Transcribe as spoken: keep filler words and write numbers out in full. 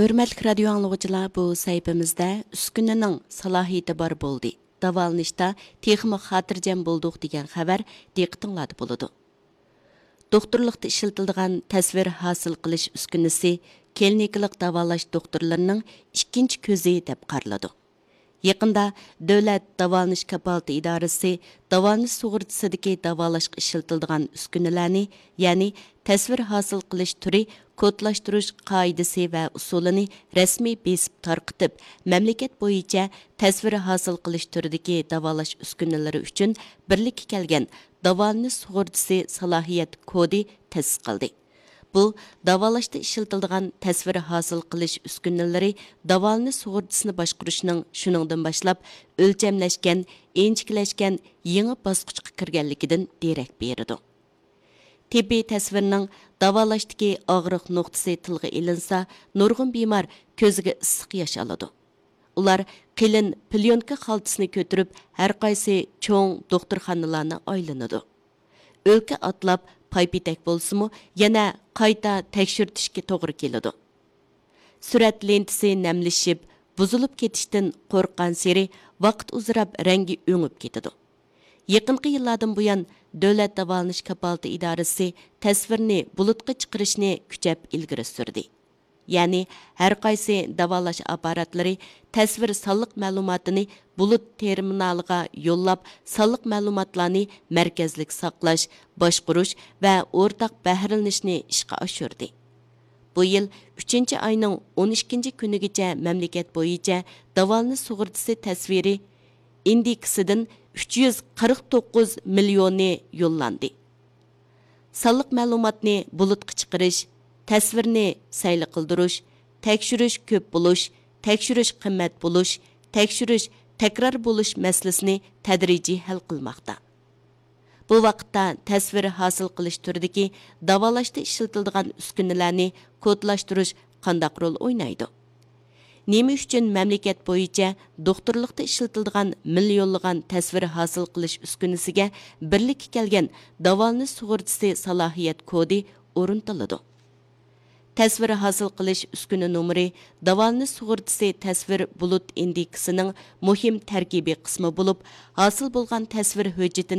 ھۆرمەتلىك رادىيو ئاڭلىغۇچىلار، بۇ سەھىپىمىزدە ئۈسكۈنىنىڭ سالاھىيىتى بار بولدى، داۋالىنىشتا تېخىمۇ خاتىرجەم بولدۇق دېگەن خەۋەر دىققىتىڭلاردا بولىدۇ. دوختۇرلۇقتا ئىشلىتىلىدىغان تەسۋىر ھاسىل قىلىش ئۈسكۈنىسى كلىنىكىلىق داۋالاش دوختۇرلىرىنىڭ ئىككىنچى كۆزى دەپ قارىلىدۇ. يېقىندا دۆلەت داۋالىنىش كاپالىتى ئىدارىسى داۋالىنىش سۇغۇرتىسىدىكى داۋالاشقا ئىشلىتىلىدىغان ئۈسكۈنىلەرنى، يەنى تەسۋىر ھاسىل قىلىش تۈرى كودلاشتۇرۇش قائىدىسى ۋە ئۇسۇلىنى رەسمىي بېسىپ تارقىتىپ، مەملىكەت بويىچە تەسۋىر ھاسىل قىلىش تۈرىدىكى داۋالاش ئۈسكۈنىلىرى ئۈچۈن بىرلىككە كەلگەن داۋالىنىش سۇغۇرتىسى سالاھىيەت كودى تەسىس قىلدى. بۇ داۋالاشتا ئىشلىتىلىدىغان تەسۋىر ھاسىل قىلىش ئۈسكۈنىلىرى داۋالىنىش سۇغۇرتىسىنى باشقۇرۇشنىڭ شۇنىڭدىن باشلاپ ئۆلچەملەشكەن، ئىنچىكىلەشكەن يېڭى باسقۇچقا كىرگەنلىكىدىن دېرەك بېرىدۇ. تېببىي تەسۋىرنىڭ داۋالاشتىكى ئاغرىق نۇقتىسى تىلغا ئېلىنسا، نۇرغۇن بىمار كۆزىگە ئىسسىق ياش ئالىدۇ. ئۇلار قېلىن پليونكا خالتىسىنى كۆتۈرۈپ، ھەرقايسى چوڭ دوختۇرخانىلارنى ئايلىنىدۇ. ئۆلكە ئاتلاپ، پايپېتەك بولسىمۇ، يەنە قايتا تەكشۈرتۈشكە توغرا كېلىدۇ. سۈرەت لېنتىسى نەملىشىپ، بۇزۇلۇپ كېتىشتىن قورققانسېرى ۋاقىت ئۇزىراپ رەڭگى ئۆڭۈپ كېتىدۇ. يېقىنقى يىللاردىن بۇيان، دۆلەت داۋالىنىش كاپالىتى ئىدارىسى تەسۋىرنى بۇلۇتقا چىقىرىشنى كۈچەپ ئىلگىرى سۈردى. يەنى، ھەرقايسى داۋالاش ئاپپاراتلىرى تەسۋىر سانلىق مەلۇماتىنى بۇلۇت تېرمىنالىغا يوللاپ، سانلىق مەلۇماتلارنى مەركەزلىك ساقلاش، باشقۇرۇش ۋە ئورتاق بەھرىلىنىشنى ئىشقا ئاشۇردى. بۇ يىل ئۈچىنچى ئاينىڭ ئون ئىككىنچى كۈنىگىچە مەملىكەت بويىچە داۋالىنىش سۇغۇرتىسى تەسۋىرى ئىندېكسىدىن ئۈچ يۈز قىرىق توققۇز مىليونى يوللاندى. سانلىق مەلۇماتنى بۇلۇتقا چىقىرىش، تەسۋىرنى سەيلە قىلدۇرۇش، تەكشۈرۈش كۆپ بولۇش، تەكشۈرۈش قىممەت بولۇش، تەكشۈرۈش تەكرار بولۇش مەسىلىسىنى تەدرىجىي ھەل قىلماقتا. بۇ ۋاقىتتا تەسۋىر ھاسىل قىلىش تۈرىدىكى داۋالاشتا ئىشلىتىلىدىغان ئۈسكۈنىلەرنى كودلاشتۇرۇش قانداق رول ئوينايدۇ؟ نېمە ئۈچۈن مەملىكەت بويىچە دوختۇرلۇقتا ئىشلىتىلىدىغان مىليونلىغان تەسۋىر ھاسىل قىلىش ئۈسكۈنىسىگە بىرلىككە كەلگەن داۋالىنىش سۇغۇرتىسى سالاھىيەت كودى ئورنىتىلىدۇ؟ تەسۋىر ھاسىل قىلىش ئۈسكۈنە نومۇرى داۋالىنىش سۇغۇرتىسى تەسۋىر بۇلۇت ئىندېكسىنىڭ مۇھىم تەركىبىي قىسمى بولۇپ، ھاسىل بولغان تەسۋىر ھۆججىتىنى